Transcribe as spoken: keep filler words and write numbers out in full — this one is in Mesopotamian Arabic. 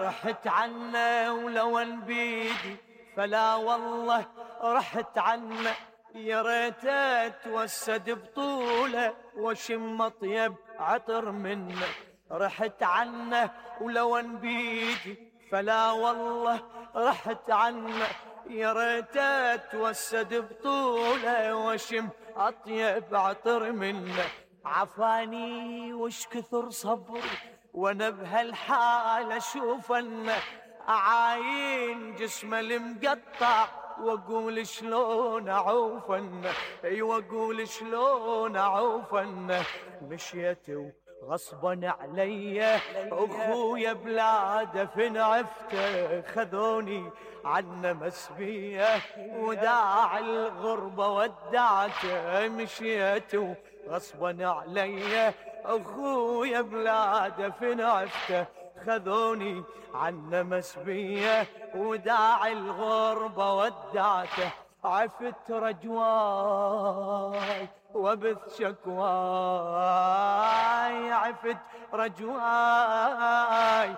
رحت عنه ولو ان بيدي فلا والله رحت عنه، يا ريت اتوسد بطوله واشم اطيب عطر منه. رحت عنه ولو ان بيدي فلا والله رحت عنه، يا ريت اتوسد بطوله واشم اطيب عطر منه. عفاني وش كثر صبري وانا بهالحال اشوف انه، اعاين جسمه المقطع واقول شلون اعوف عنه، اي واقول شلون اعوف عنه. مشيت غصبا علي اخويا بلاده فين عفته، خذوني عنه مسبيه وداع الغربه ودعته. مشيت غصبا علي اخويا بلاده فين عفته، خذوني عنه مسبيه وداع الغربه ودعته. عفت رجواي وبث شكواي، عفت رجواي